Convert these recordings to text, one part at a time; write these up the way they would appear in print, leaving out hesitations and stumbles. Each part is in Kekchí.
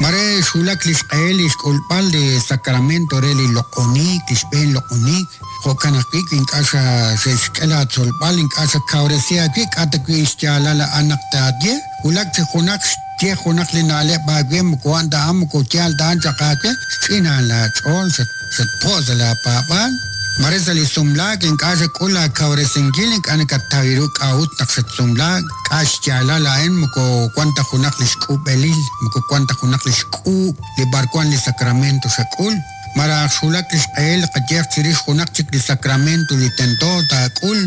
Mare xwulak li xq'ehil li xk'ulb'al li sacramento re li loq'oniik, li xb'een loq'oniik, jo'kan ajwi' wi ink'a' xe'xk'e laatzolb'al, ink'a' xakawresi aawib', k'a' ta wi' xyaalal a'an naq taaye, wulak chi junaq xye junaq li na'leb' aawe moko a'an ta a'an, moko yaal ta a'an chaq aawe, xch'inaan laach'ool, xatpo' sa' laapaab'aal. Mare sa' li sumlaak ink'a' xak'ul aakawresinkil, ink'a' nakataw ru k'a'ut naq xatsumlaak, k'a' xyaalal a'in moko wan ta junaq li xk'ub'elil, moko wan ta junaq li xk'uub' li b'arwan li sacramento xak'ul. Malaj xwulak li xq'ehil li qayehaq chirix junaq chik li sacramento li tento taak'ul,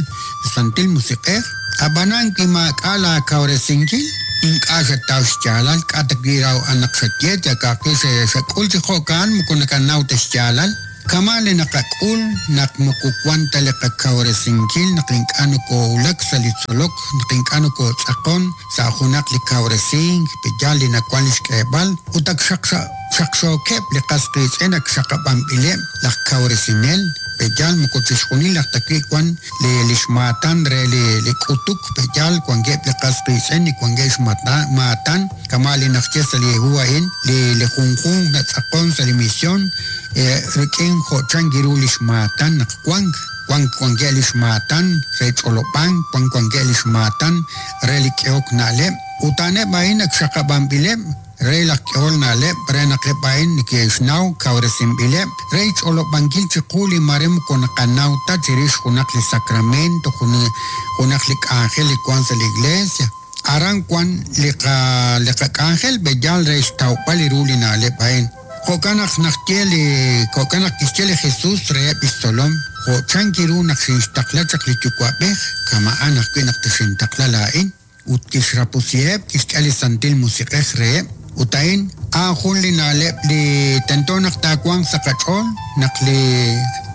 li Santil Musiq'ej. A'b'anan wi maak'a' laakawresinkil, ink'a' xataw xyaalal, k'a' ta wi' raw a'an naq xaye, yal ka'ajwi' xak'ul chi jo'kan moko nakanaw ta xyaalal. Kama' li naqak'ul naq moko wan ta li qakawresinkil, naq ink'a' nokoowulak sa' li tzolok, naq ink'a' nokootz'aqon sa' junaq li kawresink, pe'yaal li nawank li xk'eeb'al, ut ak xaqxookeb' li qas qiitz'in ak xaqab'anb'ileb' laj kawresinel, pe'yaal moko chixjunil aj ta wi' wan li li xmaatan re li li k'utuk, pe'yaal wankeb' li qas qiitz'in li wankeb' xmaatan, kama' li naxye sa' li hu a'in, li li junjunq natz'aqon sa' li mision rik'in jo' chank ru li xmaatan naq wank, wank wankeb' li xmaatan re ch'olob'ank, wank wankeb' li xmaatan re li k'ehok na'leb', ut a'aneb' a'in ak xaqab'anb'ileb' re laj k'ehol na'leb' re naq eb' a'in neke'xnaw kawresinb'ileb' re xch'olob'ankil chiqu li mare moko naqanaw ta chirix junaq li sacramento, junaq li k'anjel li wank sa' li iglesia. Aran wank li li qak'anjel b'eyal re xtawb'al ru li na'leb' a'in. Jo'kan naq naxye li jo'kan naq kixye li Jesús reheb' li xtzolom, Jo' chank ru naq xinxtaqla chaq li Yuwa'b'ej, kama'an ajwi' naq texintaqla laa'in. Ut kixrapusiheb', kixk'e li Santil Musiq'ej reheb'. Ut a'in, a'an jun li na'leb' li tento naq taawanq sa' qach'ool, naq li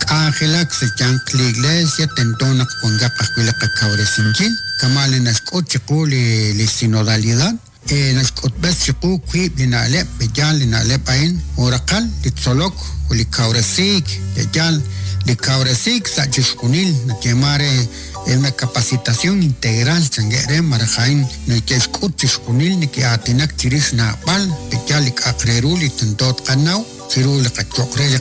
k'anjelak sa' xyanq li Iglesia tento naq wankaq ajwi' li qakawresinkil, kama' li naxk'ut chiqu li sinodalidad. Naxk'utb'es chiqu wiib' li na'leb', pe'yaal li na'leb' a'in, jun raqal, li tzolok ut li kawresiik, pe'yaal li kawresiik sa' chixjunil, nayeeman re una capacitación integral chankeb' re, malaj a'in neke'xk'ut chixjunil, neke'aatinak chirix naab'al, pe'yaal li k'a'aq re ru li tento tqanaw chiru li qachoq re li.